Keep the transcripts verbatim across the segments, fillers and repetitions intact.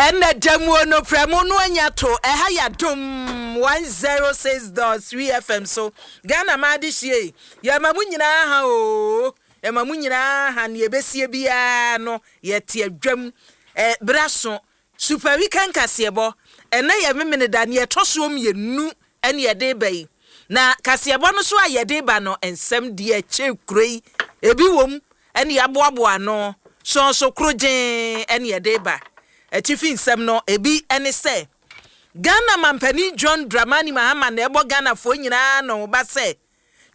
Ɛnna damuo no prɛmo no anya to ɛha yɛ Adom one zero six point three F M so. Ghana maa de hyie, yɛma mu nyinaa ha o, yɛma mu nyinaa ha. Nea ɛbɛsie biara no, yɛte adwam ɛ berɛ so. Super Weekend kaseɛbɔ, ɛnɛ yɛ Memene da nea ɛtɔ soɔ mmienu ɛne yɛde ba yi. Na kaseɛbɔ no so a yɛde ba no, nsɛm deɛ ɛkyɛ kuro yi ebi wɔ mu ɛne yɛaboaboa ano sɔnso koro gyee ɛne yɛde ba. Atifi nsɛm no ebi ɛne sɛ Ghana mampanin John Dramani Mahama na ɛbɔ Ghanafoɔ nyinaa na ɔba sɛ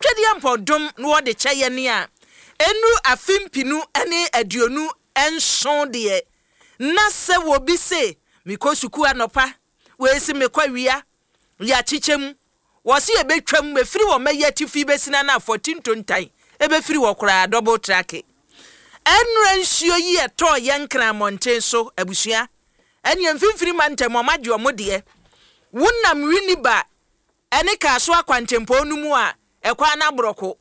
Twedeɛ mpɔdom na wɔde kyɛ yɛ ne a ɛnuru afe mpinu ne aduonu nson deɛ, na sɛ wɔbi se mekɔ sukuu anɔpa, wɔesi mekɔ awia, yɛakyekyɛ mu. Wɔsi yɛbɛtwam efiri wɔ mɛyɛ atifi bɛsi na afɔti ntontan ebɛfiri wɔ koraa. Double track, ɛnura nsuo yi ɛtɔɔ yɛn Nkran mmɔnten so abusua ɛne mfimfini ma ntɛm ɔmo agye ɔmo deɛ. Wonam Winiba ɛne Kaaso akwantempɔn no mu a, ɛkwan no aborɔko,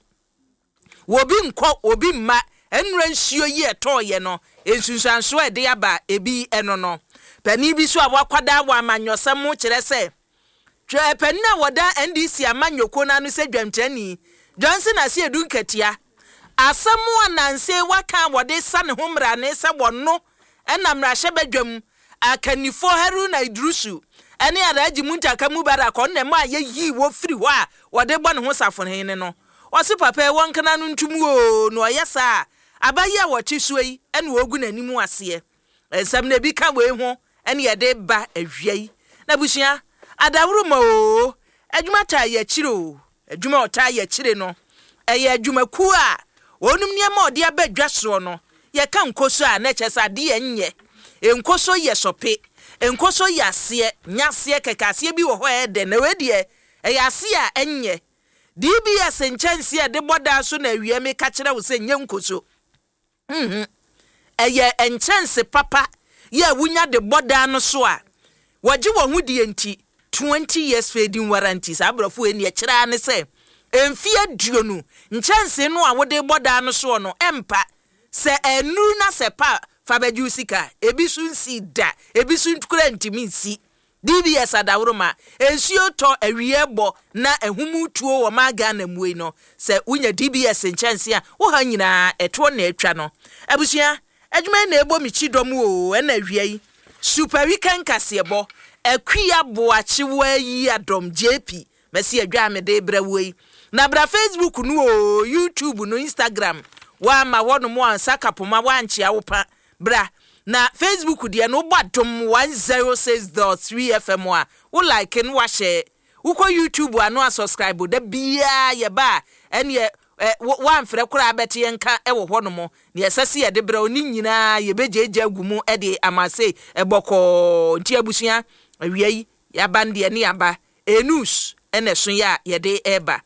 wobi nkɔ, obi mma. Ɛnura nsuo yi ɛtɔɔ yɛ no, nsunsuansoɔ a ɛde aba ebi ɛno no, panin bi so a wakwadaa wɔ amanyɔsɛm ho kyerɛ sɛ twɛ panin a wɔda N D C amanyɔkuo no ano sɛ dwamkyerɛni Johnson Asiedu Nketia, asɛm a nanse waka a wɔde sa ne ho mmarane sɛ wɔno ɛna mmarahyɛbadwam akannifoɔ Haruna Iddrisu ɛne Alhaji Muntaka Mubarak ɔno na ɛma a yɛyii wɔ firi hɔ a wɔde bɔ ne ho safohene no, ɔse papa yi wɔnkana no ntom o, na ɔyɛ saa aba yi a wɔte soɔ yi ɛna wɔgu n'anim aseɛ. Nsɛm na ebi ka wei ho ɛne yɛde ba awia yi. Na abusua adaworo ma o, adwuma taa yɛ akyire o, adwuma a ɔtaa yɛ akyire no, ɛyɛ adwumakuo a wɔnom nneɛma a ɔde aba dwa soɔ no. Yɛka nkoso a, na kyerɛ sɛ adeɛ nyɛ nkoso yɛ sɔpe, nkoso yɛ aseɛ, nyɛ aseɛ kɛkɛ. Aseɛ bi wɔ hɔ a ɛyɛ dɛ, na wei deɛ ɛyɛ aseɛ a ɛnyɛ. D B S nkyɛnse a ɛde bɔ daa so na awia mi ka kyerɛ wo sɛ nyɛ nkoso. mhm ɛyɛ nkyɛnse papa yɛ a wonya de bɔ daa no so a wɔgye wɔn ho die nti twenty years fading warranty. Saa aborɔfo yi neɛ kyerɛ ne sɛ mfie aduonu nkyɛnse no a wode bɔ daa no soɔ no, ɛmpa sɛ ɛnuru na sɛ pa fa bɛgye wo sika. Ebi so nsi da, ebi so kura ntumi nsi. D B S adaworoma, nsuo tɔ, awie bɔ na ɛhum tuo wɔ maa Ghana mu yi no, sɛ wonya D B S nkyɛnse a, woha nyinaa ɛtoɔ na atwa no. Abusua, adwuma yi na ɛbɔ me kyi dɔm o. Ɛna awia yi Super Weekend kaseɛbɔ, Akua Boakye Wayi Adɔm J P mɛsi adwa a mede brɛ wo yi na bra Facebook no o, YouTube no, Instagram woama hɔnom ansa kapoma woankyea wo pa. Bra na Facebook deɛ no, wobɔ Adom one zero six point three F M a, wo like no, wahyɛ. Wokɔ YouTube ano a, subscribe. Da biara yɛba a, ɛneɛ woamfrɛ koraa bɛte yɛn nka wɔ hɔnom. Neɛ ɛsɛ sɛ yɛde brɛ wo ne nyinaa, yɛbɛgyaagya agu mu de ama se ɛbɔkɔɔ. Nti abusua, awia yi yɛaba no deɛ ne yɛaba enus ɛna ɛso yɛ a yɛde ɛreba.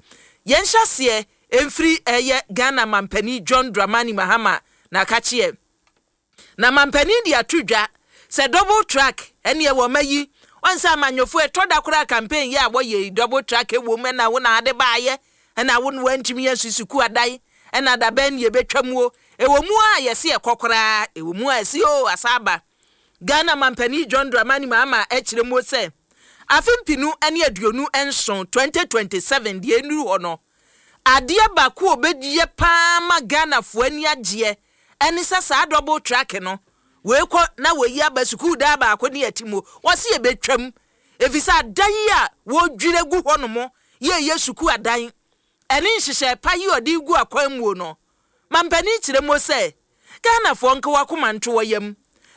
Yɛnhyɛ aseɛ mfiri ɛyɛ Ghana mampanin John Dramani Mahama na akakyeɛ na mampanin de ato dwa sɛ double track ɛne ɛwɔ ma yi wɔn sɛ amanyɔfoɔ ɛtɔ da koraa campaign yɛ a wɔyɛ yi, double track ɛwɔ mu ɛna wo na ade baayɛ ɛna wo na wɔntumi yɛ susuku adan ɛna dabɛn ne yɛbɛtwa mu o. Ɛwɔ mu a yɛsi ɛkɔ koraa, ɛwɔ mu a yɛsi o asa aba. Ghana mampanin John Dramani Mahama ɛkyerɛ mu sɛ afe mpinu ne aduonu nson twenty twenty-seven deɛ ɛnuru hɔ no, adeɛ baako a obɛyɛ paa ma Ghanafoɔ ani agyeɛ ɛne sɛ saa double track no, wei kɔ na wɔyi aba, sukuu daa baako ne yɛte mu. Wɔsi yɛbɛtwam efisɛ adan yi a wɔdwira gu hɔ nom yɛyɛ sukuu adan ɛne nhyehyɛ pa yi ɔde gu akwan mu no. Mampanin kyerɛ mu sɛ Ghanafoɔ nka wakoma nto wɔ yam.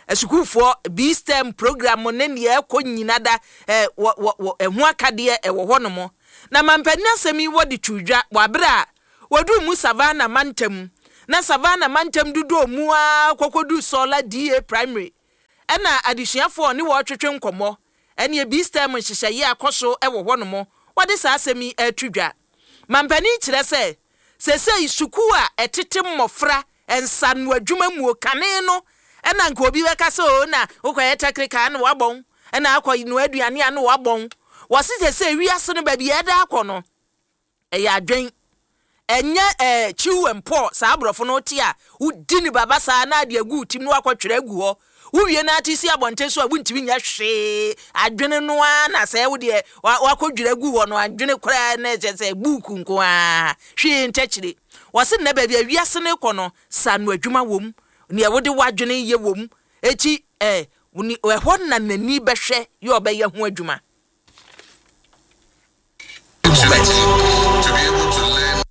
Asukuufoɔ B STEM program ne nea ɛkɔ nyina da ɛ wɔ wɔ wɔ ɛho akadeɛ ɛwɔ hɔ nom. Na mampanin asɛm yi wɔde to dwa wɔ abere a wɔduru mu Savannah mantam, na Savannah mantam dodoɔ mu a kɔkɔdu Sɔla D A Primary ɛna adesuafoɔ ne wɔretwetwe nkɔmmɔ ɛne B STEM nhyehyɛeɛ akɔ so ɛwɔ hɔ nom. Wɔde saa asɛm yi ɛto dwa. Mampanin kyerɛ sɛ sɛsɛi sukuu a ɛtete mmɔfra nsano adwuma mu kane no, ɛna nka obi bɛka sɛ o na wokɔyɛ technical na wabɔn ɛna akɔ noa aduane a na wabɔn. Wɔse sɛ sɛ wiase no baabi ɛda akɔ no, ɛyɛ adwen, Ɛnyɛ ɛɛ chew and pour saa aborɔfo no te a wodi ne baba saa na ade agu tim na wakɔtwerɛ agu hɔ. Wowie na ate si abɔnten so a, wontumi nyɛ hwee. Adwene no ara na sɛ wo deɛ wakɔdwerɛ agu hɔ no, adwene koraa na ɛkyɛ sɛ buuku nko ara, hwee nkyɛkyire. Wɔse nnɛ baabi a wiase no rekɔ no, sa no adwuma wom, nea wode w'adwene yɛ wom. Eti ɛ ɛhɔ na n'ani bɛhwɛ yɛ ɔbɛyɛ ho adwuma. To be able to learn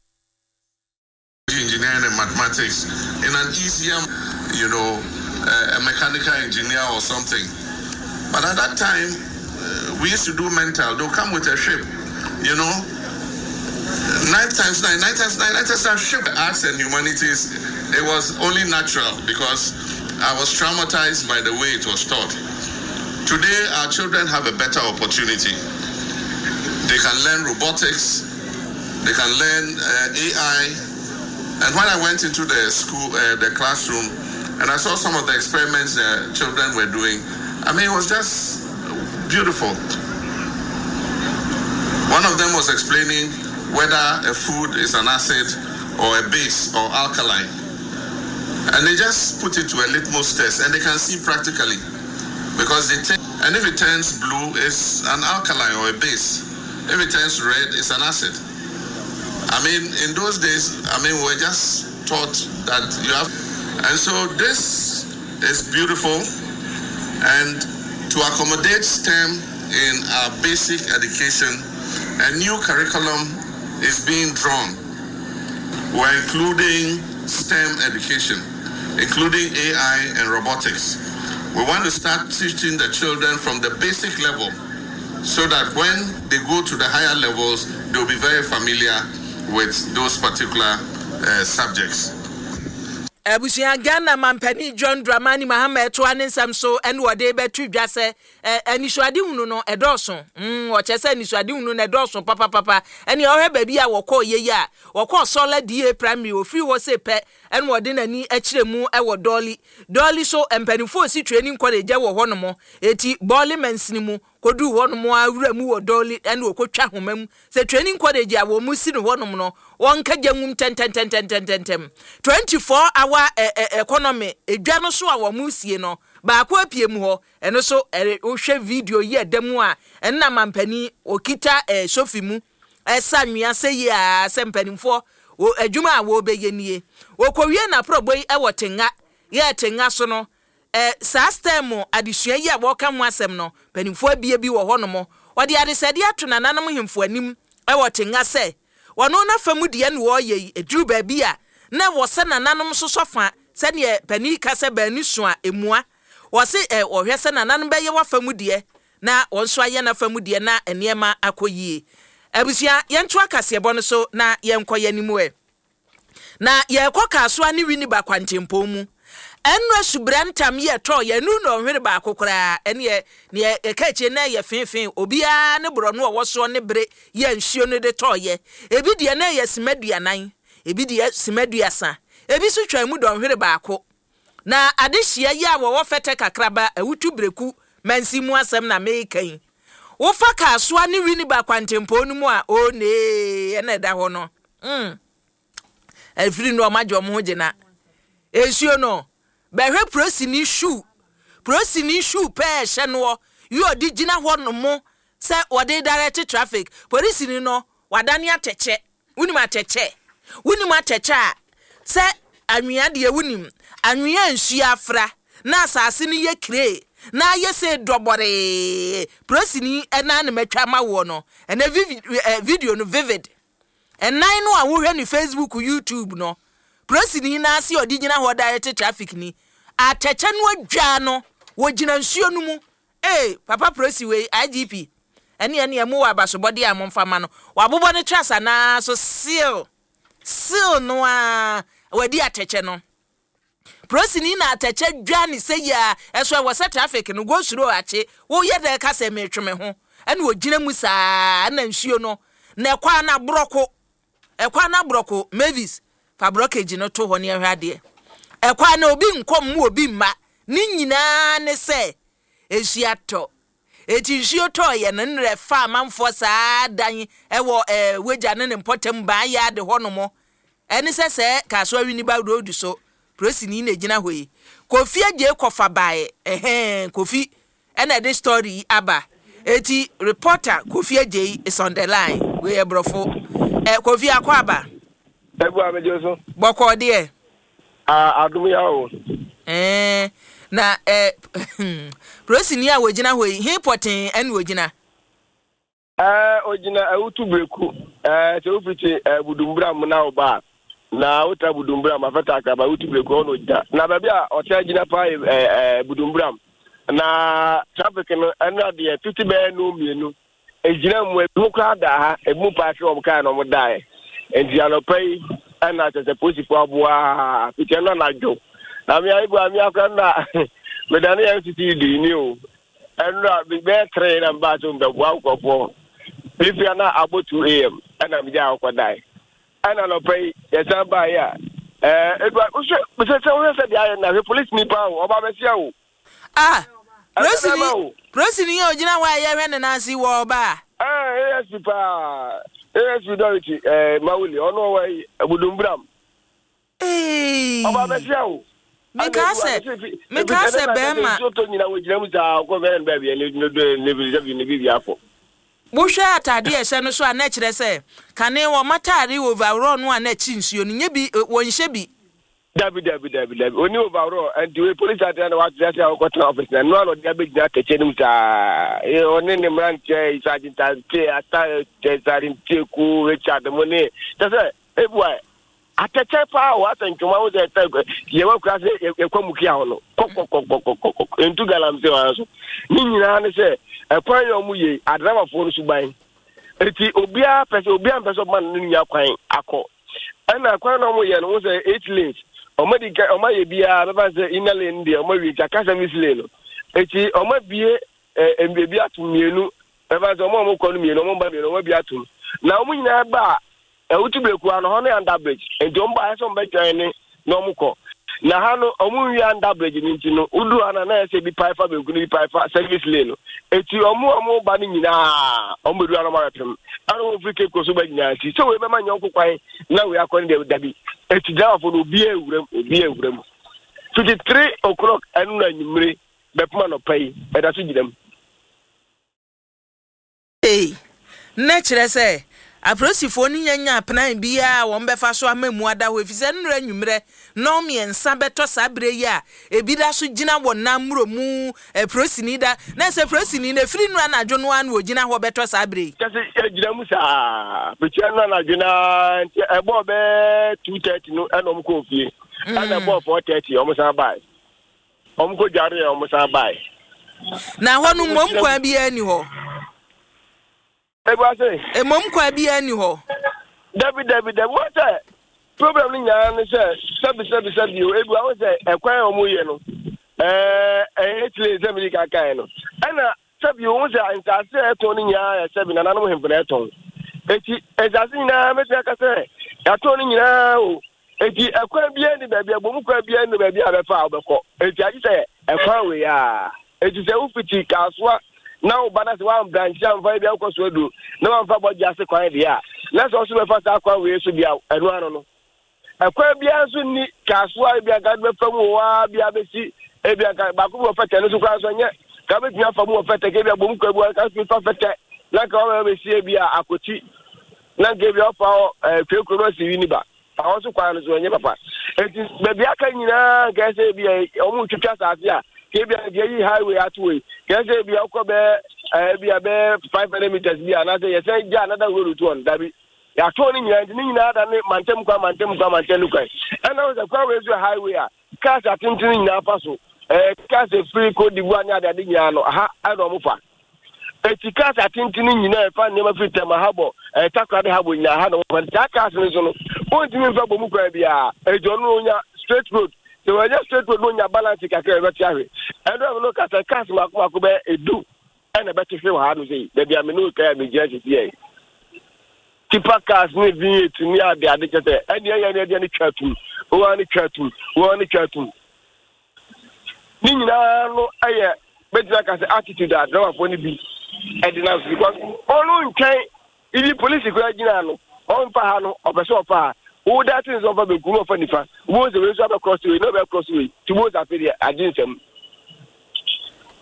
engineering and mathematics in an easier, you know, uh, a mechanical engineer or something. But at that time, uh, we used to do mental. They'll come with a ship, you know. Nine times nine, nine times nine, nine times nine, ship. Arts and humanities, it was only natural because I was traumatized by the way it was taught. Today, our children have a better opportunity. They can learn robotics, they can learn uh, A I. And when I went into the school, uh, the classroom, and I saw some of the experiments the children were doing, I mean, it was just beautiful. One of them was explaining whether a food is an acid or a base or alkaline. And they just put it to a litmus test and they can see practically. Because they take, and if it turns blue, it's an alkaline or a base. If it turns red, it's an acid. I mean, in those days, I mean, we were just taught that you have. And so this is beautiful. And to accommodate STEM in our basic education, a new curriculum is being drawn. We're including STEM education, including A I and robotics. We want to start teaching the children from the basic level so that when they go to the higher levels, they'll be very familiar with those particular uh, subjects. Abusua, Ghana mampanin John Dramani Mahama ɛtoa ne nsɛm so ɛne wɔde bɛto dwa sɛ anisoadehunu no ɛdɔɔso mm wɔkyɛ sɛ anisoadehunu no ɛdɔɔso papapapa. Ɛne ɔhwɛ baabi a wɔkɔɔ yɛ yi a wɔkɔɔ Sɔla D A Primary, ofiri hɔ se pɛ ɛne wɔde n'ani akyerɛ mu ɛwɔ Dɔɔli. Dɔɔli so mpanimfoɔ si training college wɔ hɔnom, eti Bɔɔli mansini mu kɔduu hɔnom awura mu wɔ Dɔɔli ɛne wɔkɔtwa homa mu sɛ training college a wɔn mu si no hɔnom no, wɔnka gya nwum tɛntɛntɛntɛntɛntɛm. twenty-four hour ɛ ɛ economy edwa no so a wɔn sie no baako apue mu hɔ. Ɛno so ɛre wohwɛ video yi ɛda mu a, ɛnna mampanin okita ɛɛ sofi mu ɛsa nwea sɛ yie a sɛ mpanimfoɔ wɔ adwuma a wɔrebɛyɛ nie. Wɔkɔwie n'aporɔbɔ yi ɛwɔ Tenga yɛ Tenga so no, ɛɛ saa STEM adesua yi a wɔreka ho asɛm no, mpanimfoɔ abie bi wɔ hɔnom. Wɔde adesɛdeɛ ato nananom hemfo anim ɛwɔ Tenga sɛ wɔno n'afa mu deɛ no wɔreyɛ yi, eduru baabi a na wɔ sɛ nananom nso sɔ sɛdeɛ panin ka sɛ baani so a emua. Wɔsi ɛ wɔhwɛ sɛ nananom bɛyɛ wafa mu deɛ na wɔn nso ayɛ n'afa mu deɛ na nneɛma akɔ yie. Abusua, yɛnto akaseɛbɔ no so na yɛnkɔ yɛn anim ɛ na yɛrekɔ Kasoa ne Winneba kwantempɔn mu. Ɛnura subira ntam yɛ tɔ yɛn nu na ɔhwere baako koraa ɛne neɛ ɛka akyire na ɛyɛ feefee. Obiara ne borɔno a ɔwɔ soɔ ne bere yɛ nsuo no de tɔɔyɛ. Ebi deɛ na ɛyɛ sima duanan, ebi deɛ sima duasa, ebi nso twa mu dɔnhwere baako. Na adehyia yi a wɔwɔ Fɛtɛ Kakraba Awutu Breku mansi mu asɛm na meka yi, wofa Kasoa ne Winneba kwantempɔn no mu a, onee ɛna ɛda hɔ no mm. Ɛfiri no ɔmo agye ɔmo ho gyina nsuo no. Bɛhwɛ polisini shoe, polisini shoe pɛɛ hyɛ noɔ yi ɔde gyina hɔ nom sɛ wɔde direct traffic. Polisini no wadane atɛkyɛ. Wonim atɛkyɛ? Wonim atɛkyɛ a sɛ anwea deɛ, wonim anwea nsuo afra na asase no yɛ kire na ayɛ sɛ dɔbɔree. Polisini ɛnan na matwa ama woɔ no. Ɛnɛ video no vivid ɛnan no a wohwɛ ne Facebook, YouTube no, polisini n'ase a ɔde gyina hɔ direct traffic ni atɛkyɛ no adwa no, wɔgyina nsuo no mu. Ee, papa polisi wei, I G P ɛne ɛne ɛmu wɔ abasobɔdeɛ a momfa ma no. Wabobɔ ne trasa naa so seal seal no a wadi atɛkyɛ no. Polisini na atɛkyɛ dwa ne sɛ yi a ɛso ɛwɔ sɛ traffic no go slow akye. Woyɛ dɛ ka sɛ metwe me ho ɛna ogyina mu saa na nsuo no na ɛkɔ a na aborɔko, ɛkɔ a na aborɔko. Mavis, fa blockage no to hɔ ne ɛhwɛ adeɛ. Ɛkɔ a na obi nkɔ mu, obi mma ne nyinaa ne sɛ nsuo atɔ. Eti nsuo tɔɔyɛ no nnrɛ fa amanfoɔ saa dan ɛwɔ ɛɛ wagya ne ne mpɔtam ban yɛ ade hɔ nom. Ɛne sɛ sɛ Kasoa Winneba road so polisini na gyina hɔ yi. Kofi Agye kɔfa baeɛ, ɛhɛn, Kofi ɛna ɛde story yi aba. Eti reporter Kofi Agye is on the line. Wei yɛ borɔfo. Ɛ Kofi, akɔ aba. Ebu amegye so. Bɔkɔɔ deɛ? A adum ya o. Ɛɛ na ɛ polisini a wɔgyina hɔ yi, he pɔtee ɛna wɔgyina? Ɛɛ ogyina Awutu Breku. Ɛɛ sɛ wofiti ɛɛ Budumbura mu na ɔba a, na wotra Budumbura mu afɛta akraba Awutu Breku hɔ na ogyina. Na baabi a ɔtaa gyina paa yɛ ɛɛ ɛɛ Budumbura mu. Na traffic no, ɛno adeɛ fiti bɛyɛ no mmienu. Egyina mu, ebi mu koraa da ha, ebi mu paaki wɔn kaa na wɔn daeɛ. Nti anɔpa yi ɛna kyerɛ sɛ polisifoɔ aboa fiti ɛno anadwo. Na mmea ebu a mmea koraa na medane yɛn C C D ni o. Ɛnura bɛyɛ three na mbaa so mbɛboa nkurɔfoɔ fifia na abɔ two a m ɛna megya akɔkɔ dae. Ɛna nɔpɛ yi yɛsan baa yi a, ɛɛ edu wohwɛ sɛ sɛ wohwɛ sɛ deɛ ayɛ na hwɛ polisi nipa o, ɔba bɛsia o. Ah, polisini, polisini a ogyina hɔ a yɛhwɛ ne nan ase wɔ ɔbaa. Ɛɛ A S P paa, A S P Dorothy ɛɛ Mawuli, ɔno ɔwɔ yi Budumburam. Ɔba bɛsia o. Meka sɛ meka sɛ bɛrima. Nsuo tɔ nyina wɔgyina mu saa, ɔkɔ bɛyɛ no baabi ne ne ne ne ne bibi akɔ. Wohwɛ atade a ɛhyɛ no so a, na kyerɛ sɛ kane wɔn atare overall no a na akyi nsuo no nye bi, wɔnhyɛ bi. Dabi, dabi, dabi, dabi, oni overall. Nti wei polisi atena na wate ase a wɔkɔtena office na noa na ɔde abɛgyina atɛkyɛ no mu saa. Ɔne ne mmeranteɛ, Sergeant Ante Ata, Sergeant Teku Richard mo ne kyɛ sɛ ebua atɛkyɛ paa o, asɛ ntwoma wo sɛ ɛtɛ yɛwɔ kura sɛ yɛkɔ mu kia hɔ no kɔkɔkɔkɔkɔ ntu galamsey wɔn so ne nyinaa ne sɛ ɛkwan yɛ ɔmo yie adramafoɔ no so ban. Eti obiara pɛ sɛ obiara mpɛ sɛ ɔma ne nua kwan akɔ. Ɛna kwan na ɔmo yɛ no, wɔn sɛ eight lanes, ɔmo di ka ɔmo ayɛ biara bɛba sɛ inner lane deɛ ɔmo awie, nti aka service lane no. Eti ɔmo abie ɛ ebi ato mmienu, bɛba sɛ ɔmo a ɔmo kɔ no mmienu, ɔmo ba mmienu, ɔmo abie atom na ɔmo nyinaa ba a Ɛwutu Breku ano hɔ ne under bridge. Nti ɔmo ba ayɛ sɛ ɔmo bɛtwɛn ne na ɔmo kɔ na ha no, ɔmo nwi under bridge no. Nti no wodu ha na na ɛsɛ bi pae fa benkum, bi pae fa service lane no. Eti ɔmo a ɔmo ba no nyinaa, ɔmo bɛdu ha na ɔmo abɛpem ɛna ɔmo firi Cape Coast so ba nyinaa. Nti sɛ wei bɛma nyɔnko kwan na wei akɔ ne deɛ, dabi. Eti driverfo no, obiara ewura mu, obiara ewura mu fifty three o'clock ɛno na anwummere bɛpem anɔpa yi, ɛda so gyina mu. Ee, na kyerɛ sɛ apolisifoɔ no nyanya plan biara a wɔn bɛfa so ama mu ada hɔ, efisɛ nnura anwummerɛ nnɔn mmiɛnsa bɛtɔ saa berɛ yi a, ebi da so gyina wɔ nam mmuro mu. Polisini da na sɛ polisini no efiri nnura anadwo no ara na ogyina hɔ bɛtɔ saa berɛ yi. Kyɛ sɛ yɛgyina mu saa fitia no anadwo naa, nti ɛbɔɔ bɛɛ two thirty no ɛna ɔmo kɔɔ fie, ɛna ɛbɔɔ four thirty ɔmo san bae, ɔmo kɔ dware yɛ, ɔmo san bae. Na hɔ no mmom kwan biara ni hɔ? Ebu ase. Mmom kwan biara ni hɔ? Dabi, dabi, dabi. Wɔn sɛ problem no nyinaa ne sɛ sɛbi sɛbi sɛbi o, ebu awo sɛ ɛkwan a wɔn yɛ no ɛɛ ɛyɛ tile sɛ mi di kankan no, ɛna sɛbi ohun sɛ nsaase a ɛtɔn no nyinaa yɛ sɛbi nananom hemfo na ɛtɔn. Eti nsaase nyinaa mɛtumi aka sɛ yɛatɔn no nyinaa o. Eti ɛkwan biara ni baabi ɛbɔ kwan biara ni baabi a bɛfa a wobɛkɔ. Eti agye sɛ ɛkwan wei a, eti sɛ wofiti Kaasoa na woba na sɛ woambrankye amfa ebi akɔ so adu na woamfa bɔgye ase kwan deɛ a, na sɛ ɔso bɛfa saa kwan wei so deɛ, ɛno ano no ɛkwan biara nso nni Kaasoa. Ebi anka bɛfa mu wɔ hɔ a bi abɛsi ebi anka baako bi wɔ Fɛtɛ no so koraa nso ɛnyɛ ka bɛtumi afa mu wɔ Fɛtɛ ka ebi abom kwan bi anka so fa Fɛtɛ na nka wɔbɛ bɛsi ebi a Akɔti na nka ebi ɔfa hɔ ɛɛ Kurekuro no asi wi ba ahɔ nso kwan no so ɛnyɛ papa. Eti baabi aka nyinaa nka ɛsɛ ebi a wɔn twitwa asase a ka ebi a nka eyi highway ato yi, ka ɛsɛ ebi a ɔkɔ bɛɛ ɛɛ ebi a bɛɛ five hundred meters bi a anaasɛ yɛsɛn gya another road to on. Dabi, yɛatɔn ne nyinaa, nti ne nyinaa da ne mantam kwan, mantam kwan, mantam kwan. Ɛna wɔn sɛ kwan wei so yɛ highway a cars atenten nyinaa fa so, ɛɛ cars efiri Cote d'Ivoire ne adeade nyinaa no ha ɛna wɔn fa. Eti cars atenten nyinaa ɛfa nneɛma firi Tɛma habɔ, ɛɛ Takoradi habɔ nyinaa ha na wɔn fa. Saa cars no so no, wɔntumi nfa bɔ mu kwan biara. Eti ɔno onya straight road, sɛ wɔnyɛ straight road no onya balance kakra ɛbɛte ahwɛ. Ɛno ɛno no kasa cars mako mako bɛyɛ edu ɛna ɛbɛte hwɛ wɔ ha no sɛ baabi a me ne okae a megyina sisi yɛ tipper cars ne V eight ne ade ade kyɛ sɛ ɛne ɛyɛ ne ɛdeɛ ne twa tum wɔn ne twa tum wɔn ne twa tum ne nyinaa no. Ɛyɛ bɛtumi aka sɛ attitude a driverfoɔ no bi ɛde nam so, because ɔno ntwɛn ibi polisi koraa gyina no, ɔmfa ha no, ɔpɛ sɛ ɔfa ha. Wo da se nso ɔfa benkum, ɔfa nifa, wo sɛ wei nso abɛ cross wei na ɔbɛ cross wei, ti wo sɛ afei deɛ agye nsɛm.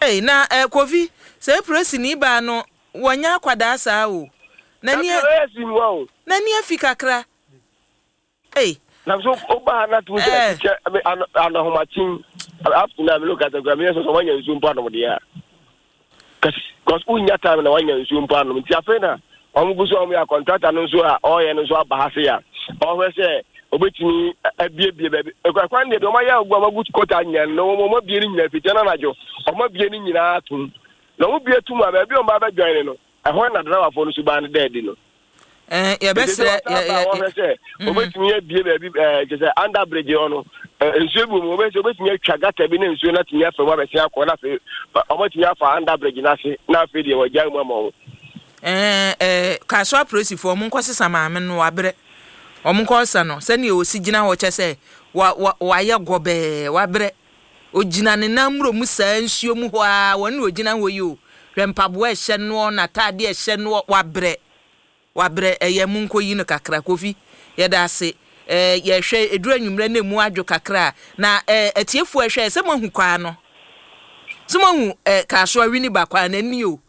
Ei, na eh, Kofi, sɛ polisini baa no, wɔnyɛ akwadaa saa o. N'ani ɛyɛ si mu o. N'ani afi kakra. Ei. Na so woba ha na tumi sɛ kyɛ anahomakyen up to now me look at the me sɛ wanya nsuo mpo anom deɛ a, cause wonya time na wanya nsuo mpo anom. Nti afei na ɔmo gu so a ɔmo yɛ contractor no nso a ɔyɛ no nso aba ha se a ɔhwɛ sɛ obetumi abiebie baabi ɛkwan deɛ deɛ ɔmo ayɛ agu ɔmo agu kota nyinaa no, ɔmo abie no nyinaa fitia no anadwo, ɔmo abie no nyinaa tum na ɔmo bie tum a, baabi a ɔmo abɛdwan no, ɛhɔ na driverfoɔ no so baa no dɛɛdi no. Yɛbɛsrɛ. Wɔhwɛ sɛ obetumi abie baabi ɛɛ kyɛ sɛ under bridge hɔ no, nsuo bi wɔ mu, obetumi obetumi atwa gutter bi na nsuo no atumi afa mu abɛsen akɔ, na afei ɔmo atumi afa under bridge n'ase, na afei deɛ wɔgya mu ama wɔn. ɛɛ ɛɛ Kasoa apolisifoɔ, ɔmo nkɔ sesa maame no, wabrɛ. Ɔmo nkɔ sa no sɛnea osi gyina hɔ kyɛ sɛ wa wa wayɛ gɔbɛɛ, wabrɛ. Ogyina ne nan mmuro mu saa nsuo mu hɔ a wɔn na ogyina hɔ yi o. Hwɛ mpaboa ɛhyɛ noɔ, n'ataade ɛhyɛ noɔ, wabrɛ, wabrɛ. Ɛyɛ mu nkɔ yi no kakra. Kofi, yɛda ase. ɛɛ yɛhwɛ eduru anwummerɛ na emu adwo kakra na ɛɛ atiefoɔ ɛhwɛ sɛ mo ahu kwan no, sɛ mo ahu ɛɛ Kasoa Winneba kwan n'ani o.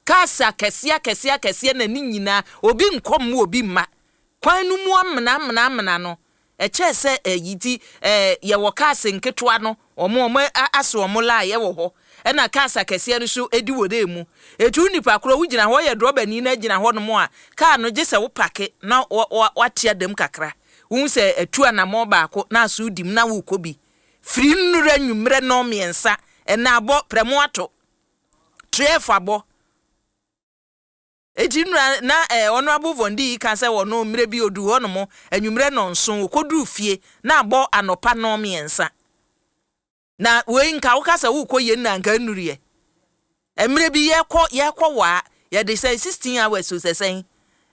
Cars akɛseɛ akɛseɛ akɛseɛ n'ani nyinaa, obi nkɔ mu, obi mma kwan no mu amena amena amena no. Ɛkyɛɛ sɛ ɛyi ti ɛɛ yɛwɔ cars nketewa no, ɔmo ɔmo asɛ ɔmo line ɛwɔ hɔ, ɛna cars akɛseɛ no nso edi wɔ dɛ mu. Etu nipa korɔ wogyina hɔ yɛ drɔbani na gyina hɔ nom a, kaa no gye sɛ wo park na wa wa wate adam kakra, wohu sɛ atu anammɔ baako na aso di mu na wokɔ bi. Firi nnura nwummerɛ nɔɔ mmiɛnsa ɛna abɔ prɛmo ato twelve abɔ. Eti nnura na ɛɛ Honourable Vondi yi ka sɛ wɔno mmerɛ bi odu hɔ nom anwummerɛ nɔnson, okoduru fie na abɔ anɔpa nɔɔ mmiɛnsa. Na wei nka woka sɛ wokɔ yɛn na nka nnuruyɛ mmerɛ bi yɛkɔ yɛkɔ waa yɛde sɛ sixteen hours o, sɛ sɛn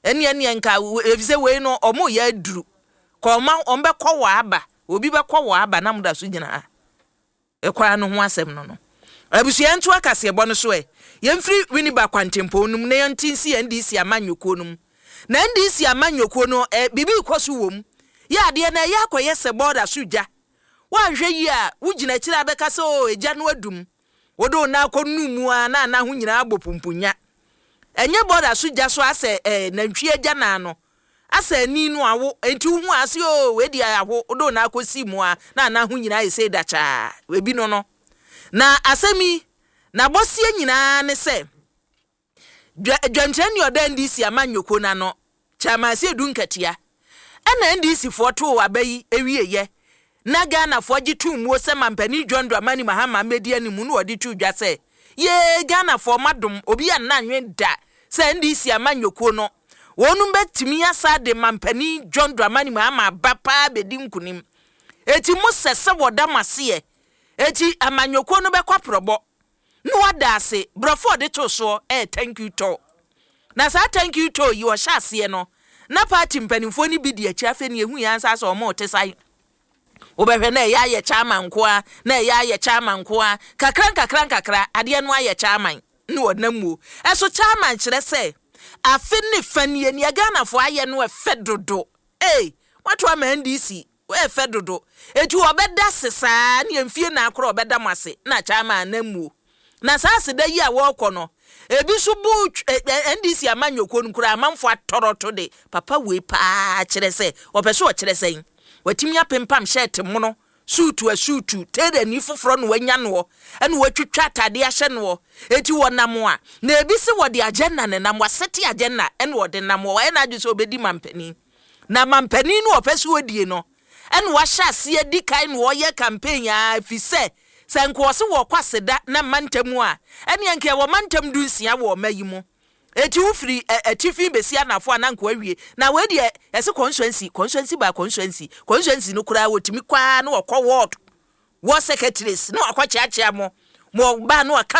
ɛne ɛneɛ nka efisɛ wei no ɔmo yɛ aduru kɔ ɔma ɔmo bɛkɔ wɔ aba, obi bɛkɔ wɔ aba na mo da so gyina ha. Ɛkwan no ho asɛm no no abusua nto akaseɛbɔ no so ɛ. Yɛmfiri Winneba kwantempɔn no mu na yɛnte nsi N D C amanyɔkuo no mu. Na N D C amanyɔkuo no, ɛ biribi kɔ so wɔ mu yɛ adeɛ na ɛyɛ akɔyɛ sɛ bɔɔda so gya. Woanhwɛ yie a, wogyina akyire a bɛka sɛ o egya no adum, wode wo nan akɔ nu mu a na ana ho nyinaa abɔ pumpunya. Ɛnyɛ bɔɔda so gya so asɛ ɛɛ nantwie agya naa no asɛ ani no awo nti wohu ase o, wei deɛ aho, wode wo nan akɔsi mu a na ana ho nyinaa yɛ sɛ dakyaa ebi no no Na asɛm yi n'abɔseɛ nyinaa ne sɛ dwankyerɛni ɔda N D C amanyɔkuo n'ano, Chairman Asiedu Nketia, ɛna N D C foɔ too aba yi ewieyɛ na Ghanafoɔ gye tum muo sɛ mampanin John Dramani Mahama mmɛdi anim na wɔde tu dwa sɛ yee, Ghanafoɔ madom obi a nna da sɛ N D C amanyɔkuo no wɔn bɛtumi asa de mampanin John Dramani Mahama aba paa bɛdi nkunim. Eti mo sɛ sɛ wɔda mo aseɛ, eti amanyɔkuo no bɛkɔ aprɔbɔ na wada ase. Borɔfo a ɔde to soɔ ɛyɛ "thank you tour". Na saa thank you tour yi ɔhyɛ aseɛ no na party mpanimfoɔ no bi di akyi. Afei ne ehu yɛn ansa sɛ ɔmo te san wobɛhwɛ na ɛyɛ ayɛ chairman nkoa, na ɛyɛ ayɛ chairman nkoa, kakra nkakra nkakra adeɛ no ayɛ chairman ne ɔnam mu. Ɛso chairman kyerɛ sɛ afe ne fa nie nea Ghanafoɔ ayɛ no ɛfɛ dodo. Ee, wato ama N D C ɛfɛ dodo, eti ɔbɛda se saa ne mfie na akora ɔbɛda mo ase na chairman anam mu. Na saa aseda yi a wɔrekɔ no, ebi nso bu N D C amanyɔkuo no koraa amanfoɔ atɔrɔto de papa wei paa kyerɛ sɛ ɔpɛ so ɔkyerɛ sɛn watumi apempam shirt mono, suutu asuutu tailor foforɔ na wanya noɔ, ɛna watwitwa atadeɛ ahyɛ noɔ. Eti wɔnam a na ebi si wɔde agenda ne nam wasɛte agenda, ɛna wɔde nam wɔ wɔyɛ n'adwe sɛ ɔbɛdi mampanin, na mampanin no ɔpɛ so wɔdie no, ɛna wahyɛ aseɛ di kan na wɔyɛ campaign a fi sɛ sɛ nka ɔse wɔkɔ aseda na mantam a, ɛneɛ nka ɛwɔ mantam du nsia wɔ ɔma yi mu. Eti wofiri atifi besi anafo a na nka wawie. Na wei deɛ yɛsɛ constituency, constituency by constituency, constituency no koraa wɔtumi kwaa na wɔkɔ ward ward secretaries na wakɔ kyeakyea mo mo ɔbaa na waka.